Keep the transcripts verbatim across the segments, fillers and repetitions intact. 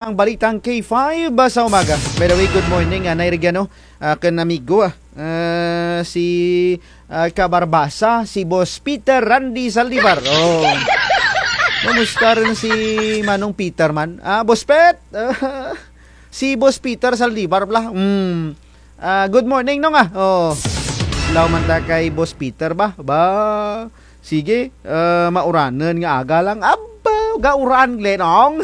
ang balitang K five sa umaga. By the way, good morning, ah, Nay Regiano, ah, kang amigo, ah, ah, si, ah, Kabarbasa, si Boss Peter Randy Saldivar. Oh. Kumusta run si Manong Peter man? Ah, Boss Pet? Si Boss Peter Saldivar bala. Hmm. Ah, good morning, Nong, ah. Oh. Adlaw man ta kay Boss Peter ba? Ba. Sige, ah, mauranun nga aga lang. Aba, gauran, Glenong.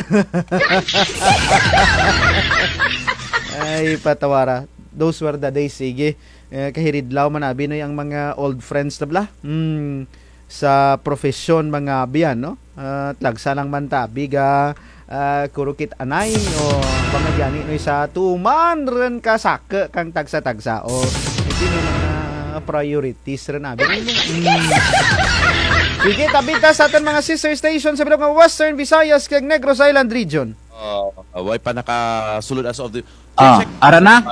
Ay, patawara. Those were the days, sige. Eh, kahiridlaw man abi, no, ang mga old friends na bala. Hmm. Sa profesyon, mga abi, no? Ah, tagsa lang man ta abi ga, ah, kurukit anay, o, mga gani, no, sa tuman run ka saku kang tagsa-tagsa, o, indi may mga priorities run abi, no? Mm. Sige, tabi ta sa atun mga sister station sa bilog nga Western Visayas kag Negros Island Region. Ah, way pa nakasulod as of the... Ah, check. Ara na?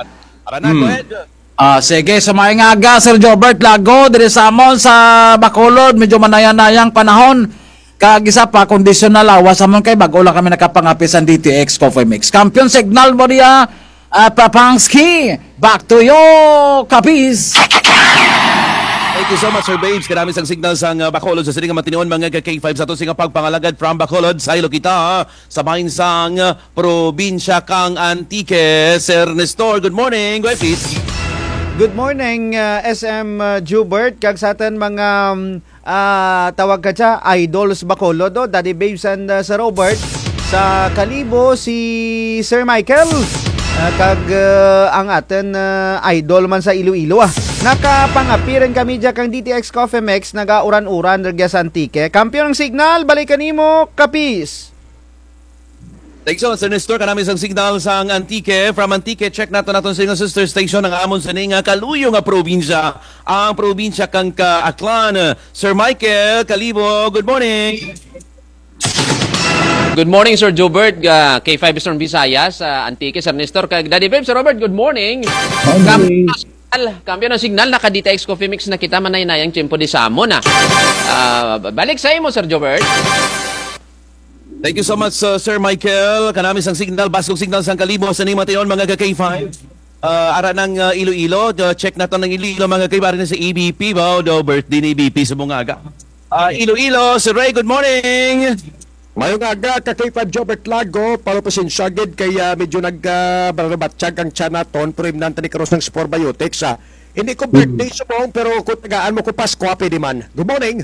Ara na, go ahead. Ah, sige, sa maayong aga, Sir Jobert Lago, diri sa amon sa Bacolod, medyo manaya-nayang panahon. Kag isa pa, kondisyon na lawas amon kay bag-o lang kami nakapangapi sa D T X Coffee Mix. Kampiyon signal mo diya, ah, Papangski. Back to you, Kapis. Thank you so much, Sir Babes. Kanami sang signal sang, ah, Bacolod sa sining nga matinion, mga ka K five, sa atun sini nga pagpangalagad from Bacolod. Saylo kita, ah, sa bahin sang, ah, probinsya kang Antique. Sir Nestor, good morning. Go ahead, please. Good morning, ah, S M, ah, Jubert, kag sa atun mga, um, ah, tawag ka dya, idols Bacolod, o, Daddy Babes and, ah, Sir Robert. Sa Kalibo, si Sir Michael, ah, kag, ah, ang atun, ah, idol man sa Iloilo, ah. Nakapangapi run kami dya kang D T X Coffee Mix, nagauran-uran rugya sa Antique. Kampiyon ang signal, balik kanimo, Kapis. Thanks so much, Sir Nestor. Kanami sang signal sang Antique. From Antique, check natun, natun sa inyong sister station, ang amon sini nga kaluyo nga probinsya, ang probinsya kang ka Aklan. Sir Michael Kalibo, good morning. Good morning, Sir Jobert, ah, K five Eastern Visayas, ah, Antique, Sir Nestor, kag Daddy Babe, Sir Robert, good morning. Morning. Kam-, signal, kampiyon ang signal, naka-D T X Coffee Mix na kita, manaya-nayang tiyempo di sa amon, ah. Ah, balik sa imo, Sir Jobert. Thank you so much, uh, Sir Michael. Kanami sang signal, baskog signal sang Kalibo, sa ning matinion, mga ka K five. Uh, ara nang, uh, Iloilo, uh, check natun ang Iloilo, mga ka K five, ari na sa E B P ba, o, daw birthday ni E B P sa mga aga. Uh, Iloilo, Sir Ray, good morning. Maayong aga, ka K five Jobert Lago, pero pasensya gid kay, ah, medyo nag, ah, balabatyag ang tiyan natun, pero imnan ta ni karon sang Sportbiotics, ah. Hindi ko birthday subong, pero kung tagaan mo ko Pasko, pwede man. Good morning.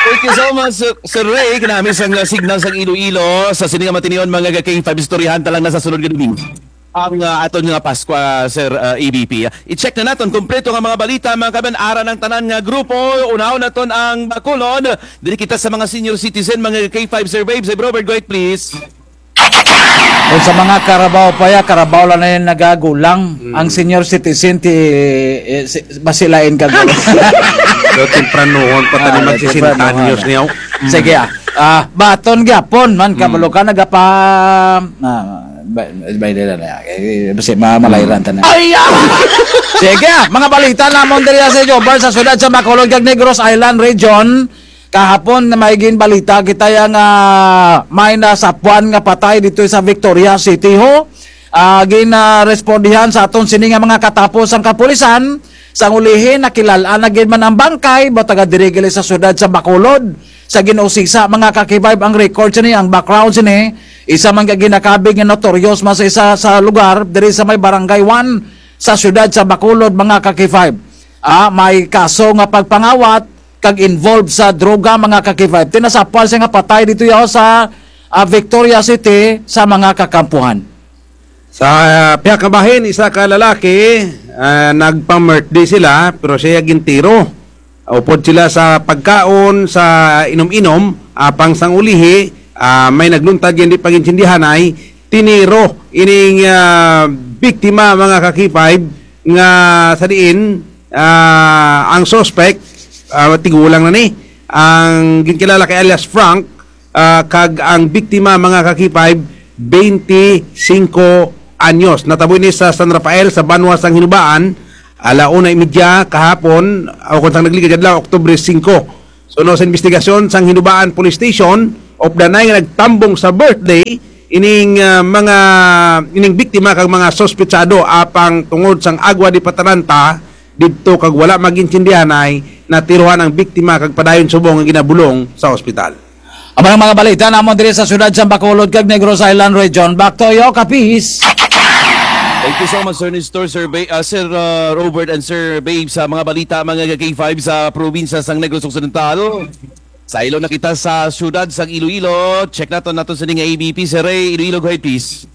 Thank you so much, Sir, Sir Ray. Kanami sang, uh, signal sang Iloilo. Sa sini nga matinion, mga ka K five, istoryahan ta lang na sa sunod nga domingo ang, uh, atun nga Pasko, uh, Sir, uh, E B P. I-check na natun, kompleto nga mga balita, mga kabayan, ara nang tanan nga grupo. Unahon natun ang Bacolod. Diri kita sa mga senior citizen, mga ka K five, Sir Babe, Sir Robert, go ahead, please. Kung sa mga karabaw pa ya, karabaw lang na yan nagagulang. Mm. Ang senior citizen, ti, eh, si, basi lain ka, guro. Daw tempranuhon pa tani, ah, mag-sesenta anyos niya. Mm. Sige, ah. Ah, baton gyapon man, mm, kabalo ka, nagapa-, ah, ba-, ba-, ba-, eh, basi ma-, malayran ta na. Ay, ah! Sige, ah, mga balita namon diri sa Jobert, sa siyudad sa Bacolod, kag Negros Island Region. Kahapon may ginbalita kita ya nga may nasapuan nga patay dito sa Victoria City ho. Ah, ginarespondihan sa atun sini nga mga katapos ang kapulisan. Sang ulihi, nakilal-an na gid man ang bangkay, baw taga diri gid sa siyudad sa Bacolod. Sa gin-usisa, mga ka K five, ang record sini, ang background sini, isa man ka ginakabig nga notorious man sa isa sa lugar, diri sa may Barangay One, sa siyudad sa Bacolod, mga ka K five. Ah, may kaso nga pagpangawat, kag involved sa droga, mga ka K five. Ti nasapuan siya nga patay dito yaw sa, ah, Victoria City sa mga kakampuhan. Sa, ah, pihak nga bahin, isa ka lalaki, ah, nagpa-birthday sila, pero siya gintiro. Upod sila sa pagkaon, sa inom-inom, apang sang ulihi, ah, may nagluntad nga indi pa ginsindihanay, tiniro ining, ah, biktima, mga ka K five, nga sa diin, ah, ang suspect, ah, tigulang na ni. Ang ginkilala kay alias Frank, ah, kag ang biktima, mga ka K five, twenty-singko anyos. Natabo ini sa San Rafael, sa banwa sang Hinubaan, ala una y medya kahapon, o kon sang nagligad nga adlaw, Oktubre singko. Suno sa imbestigasyon sang Hinubaan Police Station, of the nine nga nagtambong sa birthday ining, ah, mga, ining biktima kag mga suspetsado apang tungod sang agwa di patalanta didto kag wala mag-intindihanay, natirohan ang biktima kag padayon subong nga ginabulong sa ospital. Amo na ang mga balita namon diri sa siyudad sa Bacolod kag Negros Island Region. Back to you, Kapis. Thank you so much, Sir Nestor, Sir Ba-, ah, Sir, ah, Robert, and Sir Babe, sa mga balita, mga ka-K five, sa probinsya sang Negros Occidental. Sa Ilo na kita sa siyudad sang Iloilo. Check naton, naton sini nga A B P, Sir Ray. Iloilo, go ahead, please.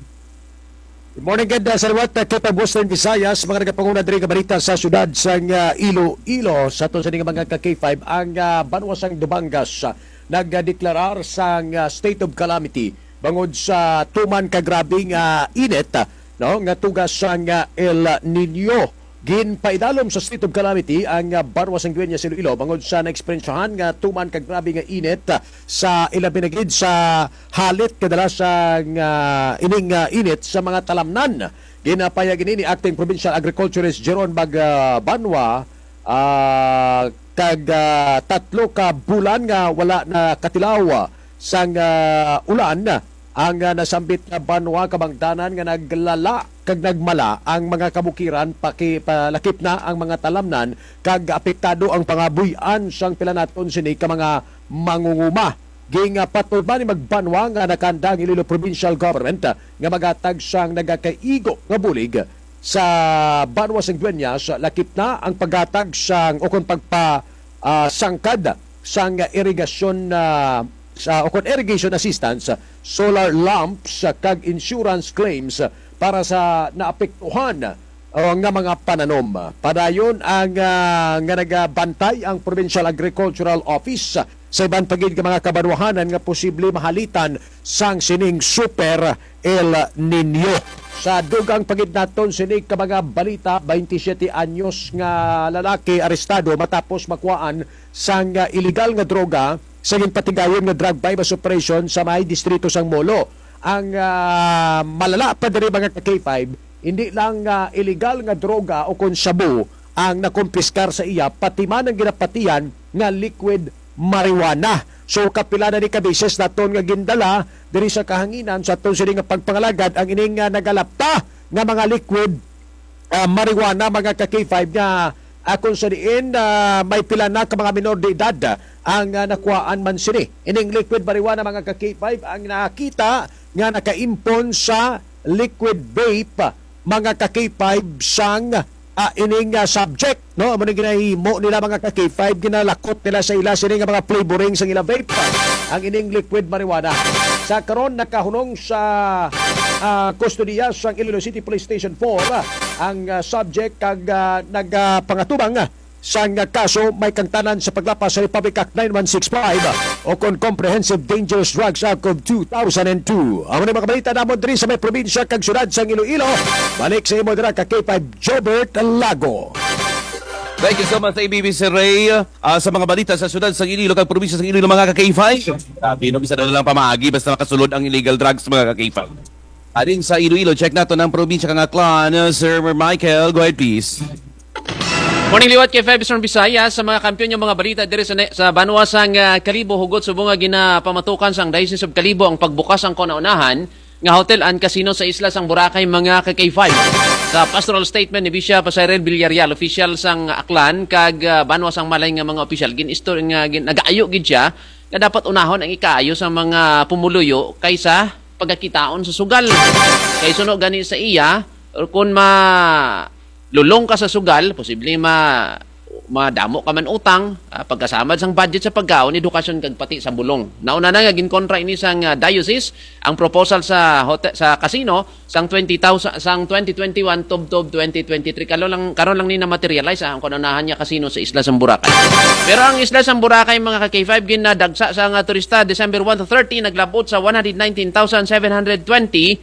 Good morning, gid, ah, sa liwat, ah, K five Western Visayas, mga nagapanguna diri nga balita sa siyudad sang, ah, Iloilo. Sa aton sini nga mga ka-K five, ang, ah, banwa sang Dumangas, ah, nagdeklarar sang, ah, state of calamity bangod sa tuman ka grabe nga init, ah, no, nga tuga sang, ah, El Niño. Ginpaidalom sa state of calamity ang, ah, banwa sang Dueñas, Iloilo bangod sa naeksperyensyahan nga tuman ka grabe nga init, ah, sa ilabi na gid sa halit kadala sang, ah, ining, ah, init sa mga talamnan. Ginapahayag ini ni Acting Provincial Agriculturist Jeron Bag-, ah, Banwa, ah, kag, ah, tatlo ka bulan nga wala nakatilaw, ah, sang, ah, ulan ang, ah, nasambit nga banwa, kabangdanan nga naglala kag nagmala ang mga kabukiran, paki-, palakip na ang mga talamnan, kag apektado ang pangabuy-an sang pila naton sini ka mga mangunguma. Gin, ah, patuman ni magbanwa nga nakahanda ang Iloilo Provincial Government, ah, nga maghatag sang nagakaigo nga bulig sa banwa sang Dueñas, lakip na ang paghatag sang ukon pagpa-, ah, sangkad sang irigasyon, ah, sa, ukon irrigation assistance, solar lamps, ah, kag insurance claims para sa naapektuhan, ah, nga mga pananom. Padayon ang, ah, nga nagabantay ang Provincial Agricultural Office, ah, sa iban pa gid nga mga kabanwahanan nga posible mahalitan sang sining Super El Niño. Sa dugang pa gid naton sini ka mga balita, baynte siyete anyos nga lalaki arestado matapos makuhaan sang, ah, iligal nga droga sa ginpatigayon nga drug buy-bust operation sa may distrito sang Molo. Ang, ah, malala pa diri, mga ka-K five, indi lang, ah, iligal nga droga ukon shabu ang nakumpiskar sa iya, pati man ang ginapatian nga liquid marijuana. So, kapila na ni ka beses naton nga gindala diri sa kahanginan sa aton sini nga pagpangalagad ang ining, ah, nagalapta nga mga liquid, ah, marijuana, mga ka-K five, nga, ah, kon sa diin, ah, may pila na ka mga minor de edad, ah, ang, ah, nakuhaan man sini. Ining liquid marijuana, mga ka-K five, ang nakita nga nakaimpon sa liquid vape, mga ka-K five, sang, ah, ining, ah, subject, no? Amo ning ginahimo nila, mga ka-K five, ginalakot nila sa ila sini nga mga flavoring sang ila vape, ang ining liquid marijuana. Sa karon, nakahunong sa, ah, kustodiya sang Iloilo City Police Station four, ah, ang, ah, subject kag, ah, nagapangatubang, ah, sang kaso may kaangtanan sa paglapas sa Republic Act nine one six five, ah, ukon Comprehensive Dangerous Drugs Act of two thousand and two. Amo ni mga balita namon diri sa may probinsya kag syudad sang Iloilo. Balik sa imo dira ka-K five, Jobert Lago. Thank you so much, A B P Sir Ray. Ah, sa mga balita sa syudad sang Iloilo kag probinsya sang Iloilo, mga ka-K five. Sabi, no, bisan ano lang pamaagi, basta makasulod ang illegal drugs, mga ka-K five. Halin sa Iloilo, check naton ang probinsya kang Aklan. Sir Michael, go ahead, please. Morning, liwat K five Eastern Visayas. Sa mga kampiyon nga mga balita diri sa ne-, sa banwa sang, ah, Kalibo, hugot subong nga ginapamatukan sang Diocese of Kalibo ang pagbukas sang kauna-unahan nga hotel and casino sa isla sang Boracay, mga ka-K five. Sa pastoral statement ni Bishop Cyril Villarreal, opisyal sang Aklan, kag, ah, banwa sang Malay nga mga opisyal, gin-istor-, nga gin-, nagaayo gid siya nga dapat unahon ang ikaayo sa mga pumuluyo kaysa pagakitaon sa sugal. Kay suno gani sa iya, kon ma-, lulong ka sa sugal, posible ma-, madamo ka man utang, ah, pagkasamad sang budget sa pagkaon, edukasyon, kag pati sa bulong. Nauna na nga ginkontra ini sang, ah, diocese ang proposal sa hote-, sa casino, sang twenty thousand, sang twenty twenty-one, tubtob twenty twenty-three. Karon lang, karon lang ni na-materialize, ah, ang kauna-unahan nga casino sa isla sang Boracay. Pero ang isla sang Boracay, mga ka-K five, ginadagsa sang turista, December one to thirty, naglab-ot sa one hundred nineteen thousand seven hundred twenty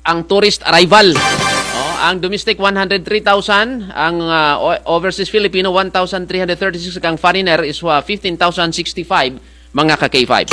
ang tourist arrival. Oh, ang domestic, one hundred three thousand, ang, ah, o-, overseas Filipino, one thousand three hundred thirty-six, kag ang foreigner is, ah, fifteen thousand sixty-five, mga ka-K five.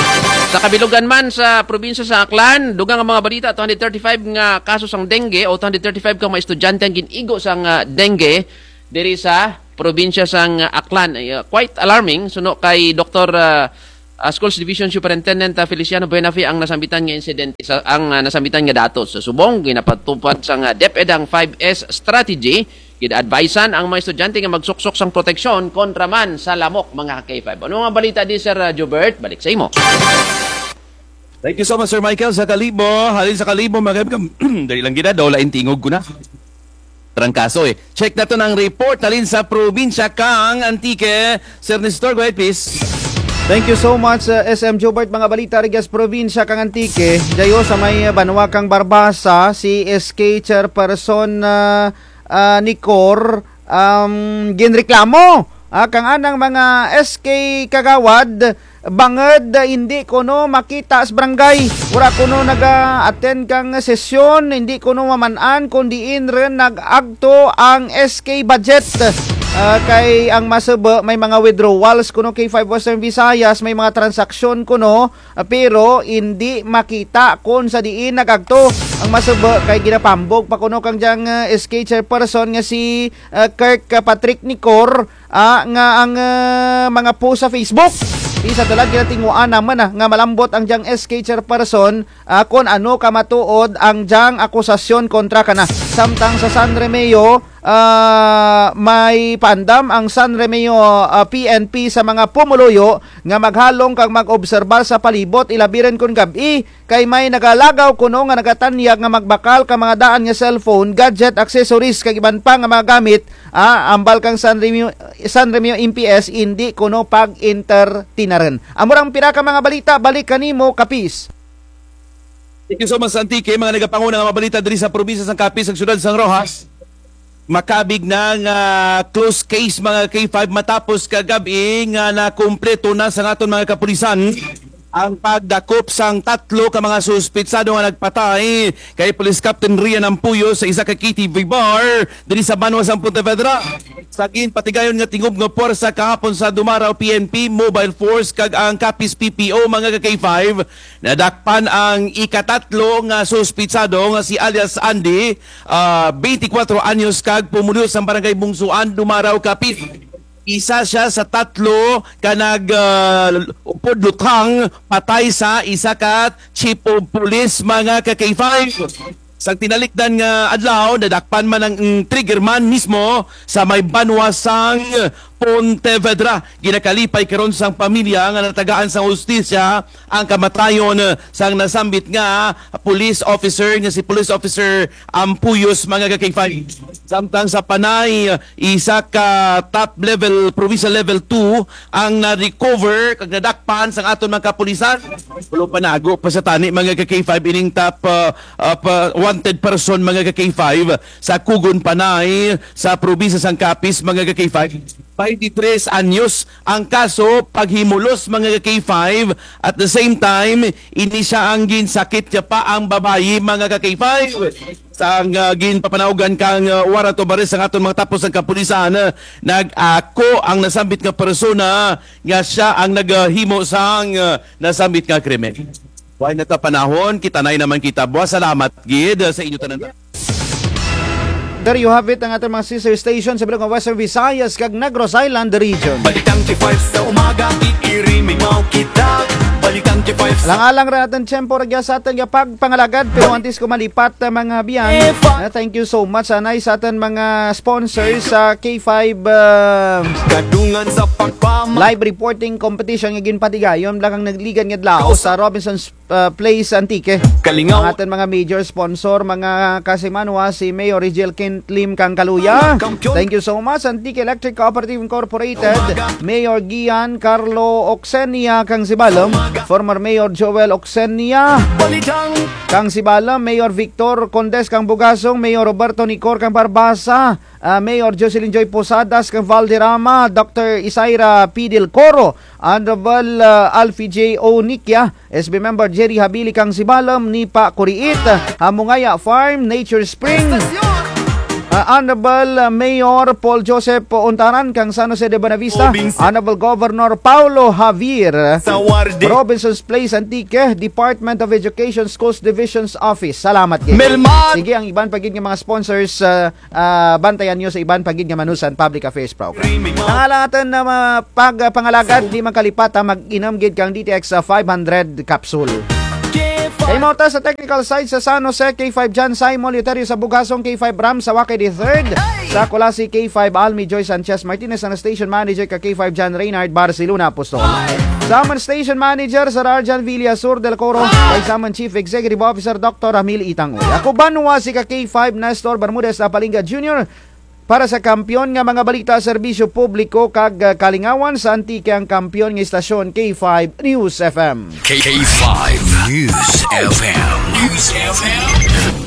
Sa kabilugan man, sa probinsya sa Aklan, dugang ang mga balita, two hundred thirty-five nga kaso sang dengue o two hundred thirty-five ka mga estudyante ang gin-igo sang, ah, dengue diri sa probinsya sang, ah, Aklan. Ay, ah, quite alarming, suno kay Doktor, ah, ah, Schools Division Superintendent, ah, Feliciano Buenafe ang nasambitan nga insidente. Sa, ang, ah, nasambitan nga datos. Sa subong, ginapatupad sang, ah, DepEd ang five S strategy. Gin-advisean ang mga estudyante nga magsuksok sang proteksyon kontra man sa lamok, mga ka-K five. Ano nga balita di, Sir, ah, Jobert? Balik sa imo. Thank you so much, Sir Michael. Sa Kalibo, halin sa Kalibo, mga kaibigan, dali lang gid, ah, daw lain tingog ko na. Trangkaso, eh. Check naton ang report halin sa probinsya kang Antique. Sir Nestor, go ahead, please. Thank you so much, uh, S M Jobert. Mga balita rugya sa probinsya kang Antique. Dya sa may banwa kang Barbaza, si S K chairperson, uh, uh, Nicor, um, ginreklamo, ah, kang anang mga S K kagawad, bangud, ah, indi kuno makita sa barangay. Wara kuno naga-attend kang sesyon, indi kuno maman-an kon diin run nag-agto ang S K budget. Ah, kay ang masubo, may mga withdrawals kuno K five Western Visayas, may mga transaksyon kuno, ah, pero indi makita kon sa diin nag-agto. Ang masubo, kay ginapahambog pa kuno kang dyang, ah, S K chairperson nga si, ah, Kirk, ah, Patrick Nicor, ah, nga ang, ah, mga post sa Facebook. Ti sa dalan ginatinguhaan na man, ah, nga malambot ang dyang S K chairperson, ah, kon ano kamatuod ang dyang akusasyon kontra kana. Samtang sa San Remigio, ah, may paandam ang San Remigio, ah, P N P sa mga pumuluyo nga maghalong kag mag-obserbar sa palibot, ilabi run kon gab-i, kay may nagalagaw kuno nga nagatanyag nga magbakal kang mga daan nga cellphone, gadget, accessories, kag iban pa nga mga gamit, ah, hambal kang San Remigio, San Remigio M P S, indi kuno pag-entertainarun. Amo rang pira ka mga balita, balik kanimo, Kapis. Thank you so much, Antique. Mga nagapanguna nga mga balita diri sa probinsya sang Capiz, sa syudad sang Roxas. Makaabig na nga close case, mga K five, matapos kagab-i nga nakumpleto na sang aton mga kapulisan ang pagdakop sang tatlo ka mga suspitsado nga nagpatay kay Police Captain Rian Ampuyo sa isa ka K T V bar diri sa banwa sang Pontevedra. Sa ginpatigayon nga tingub nga puwersa kahapon sa Dumaraw P N P, Mobile Force kag ang Capiz P P O, mga ka K five, nadakpan ang ikatatlo nga suspitsado nga si alias Andy, ah, twenty-four anyos kag pumuluyo sa Barangay Bungsuan, Dumaraw, Capiz. Isa siya sa tatlo ka nag, ah, upod luthang patay sa isa ka chief of police, mga ka K five. Sa tinalikdan nga adlaw, nadakpan man ang, mm, trigger man mismo sa may banwa sang Pontevedra. Ginakalipay karon sang pamilya nga natagaan sang hustisya ang kamatayon, eh, sang nasambit nga police officer, nga si Police Officer Ampuyos, mga ka K five. Samtang sa Panay, isa ka top level, provincial level two ang na-recover kag nadakpan sang aton mga kapulisan. Wara pa, naago pa sa tani, mga ka K five, ining top, ah, ah, pa, wanted person, mga ka K five, sa Cogon, Panay, sa probinsya sang Capiz, mga ka K five. Twenty-three anyos ang kaso paghimulos, mga ka K five. At the same time, ini siya ang ginsakit niya pa ang babayi, mga ka K five. Sang, ah, ginpapanawgan kang, ah, warrant of arrest ang aton mga tapos ang kapulisan, ah, nag-ako ang nasambit nga persona nga siya ang naghimo sang, ah, nasambit nga krimen. Wala na ta panahon, kita na naman kita. Buwas, salamat gid, ah, sa inyo tanan. There you have it, ang aton mga sister station sa bilog nga Western Visayas kag Negros Island Region. Balitang K five sa umaga, iirimingaw kita. Balitang K five sa Alang-alang ra atun tiyempo rugya sa atun nga pagpangalagad, pero antes ko malipat, ah, mga abyan, ah, thank you so much, anay sa atun mga sponsors sa K five, ah, Kadungan sa pagpama- live reporting competition nga ginpatigayon bala kang nagligan nga adlaw sa Robinson's, ah, Place Antique. Kalingaw. Ang atun mga major sponsor, mga kasimanwa, si Mayor Rigel Kentlim kang Kaluya. Thank you so much, Antique Electric Cooperative Incorporated. Mayor Gian Carlo Oxenia kang Sibalom. Former Mayor Joel Oxenia kang Sibalom. Mayor Victor Condes kang Bugasong. Mayor Roberto Nicor kang Barbaza. Ah, Mayor Jocelyn Joy Posadas kang Valderrama, Doctor Isaira P. Del Coro, Honorable, ah, Alfie J. Onikia, S B Member Jerry Habili kang Sibalom, Nipa Kuriit, Hamungaya Farm, Nature Spring, Honorable, uh, Mayor Paul Joseph Untaran kang San Jose de Buenavista, Honorable Governor Paulo Javier, Robinson's Place, Antique, Department of Education, Schools Division's Office. Salamat gid. Sige, ang iban pa gid nga mga sponsors, uh, ah, bantayan nyo sa iban pa gid nga Manusan Public Affairs Program. Ang ala natun nga mga pag-, pangalagad, di man kalipata, mag-inom gid kang D T X, ah, five hundred capsule. Kay mao ta sa technical side sa San Jose, K five John Simon Eleuterio sa Bugasong, K five Ram sa Wakay the third. Sa Culasi, K five Almi Joy Sanchez Martinez, ang station manager ka K five John Reynard Barcelona Apostol. Sa amon station manager, Sir Arjan Villasur del Coro, kag sa amon Chief Executive Officer, Doctor Ramil Itangoy. Ako banwa si ka K five Nestor Bermudez Apalinga Junior para sa Kampiyon nga mga balita, serbisyo publiko, kag, ah, kalingawan sa Antique, ang kampiyon nga istasyon, K five News F M. K five News F M. News F M.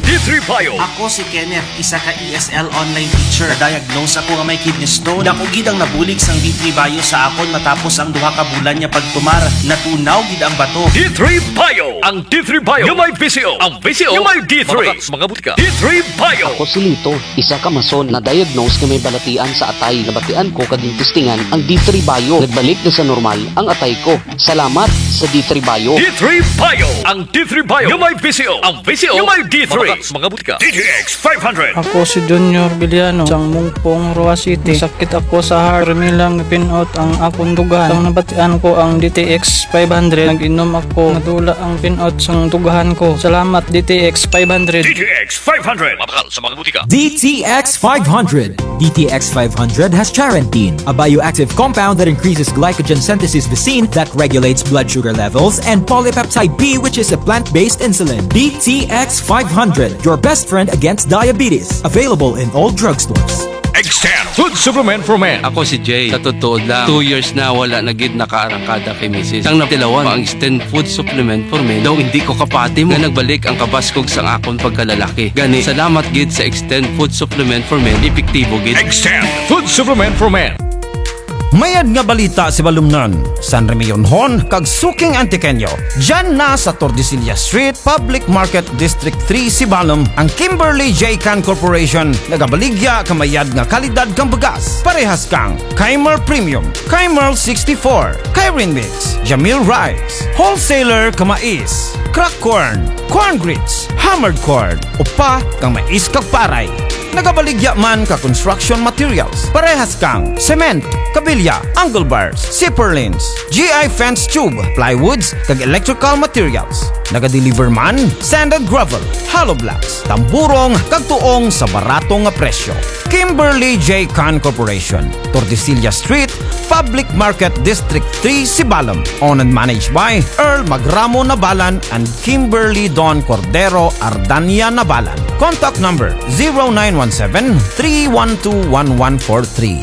D three Bio. Ako si Kenneth, isa ka E S L online teacher. Na-diagnose ako nga may kidney stone. Dako gid ang nabulig sang D three Bio sa akon matapos ang duha ka bulan nga pagtumar. Natunaw gid ang bato. D three Bio. Ang D three Bio nga may V C O. Ang V C O nga may D three. Mga, mga butika. D three Bio. Ako si Lito, isa ka mason, na-diagnose nga may balatian sa atay. Nabatian ko kag gintistingan ang D three Bio. Nagbalik na sa normal ang atay ko. Salamat sa D three Bio. D three Bio. Ang D three Bio nga may V C O. Ang V C O nga may D three. Mga, mga butika. D T X five hundred. Ako si Junior Villano, sang Mungpong, Roxas City. Sakit ako sa heart. Permi lang pin-ot ang akon dughan. Sang nabatian ko ang D T X five hundred, nag-inom ako. Nadula ang pin-ot sang dughan ko. Salamat, D T X five hundred. D T X five hundred. Mabakal sa mga butika. D T X five hundred. D T X five hundred has charantine, a bioactive compound that increases glycogen synthesis lysine that regulates blood sugar levels, and polypeptide B, which is a plant-based insulin. D T X five hundred, your best friend against diabetes. Available in all drugstores. Extend Food Supplement for Men. Ako si Jay. Sa totoo lang, two years na wala na gid nakaarangkada kay misis. Sang natilawan pa ang Extend Food Supplement for Men, daw hindi ko kapati mo nga nagbalik ang kabaskog sang akon pagkalalaki. Gani, salamat gid sa Extend Food Supplement for Men, epektibo gid. Extend Food Supplement for Men. Mayad nga balita, Sibalomnon, San Remillonhon, kag suking Antiqueño. Dyan na sa Tordesillas Street, Public Market, District three, Sibalom, ang Kimberly J Can Corporation, nagabaligya ka mayad nga kalidad kang bugas. Parehas kang Kymar Premium, Kymar sixty-four, Kyrin Mix, Jamil Rice, Wholesaler ka mais, crack corn, corn grits, hammered corn, upa kang mais kag paray. Nagabaligya man ka construction materials, parehas kang cement, kabilya, angle bars, zipper lines, G I fence tube, plywoods, kag electrical materials. Nagadeliver man sand and gravel, hollow blocks, tamburong, kag tuong sa barato nga presyo. Kimberly J Can Corporation, Tordesillas Street, Public Market, District three, Sibalom. Owned and managed by Earl Magramo Nabalan and Kimberly Don Cordero Ardania Nabalan. Contact number zero nine one seven, three one two, one one four three.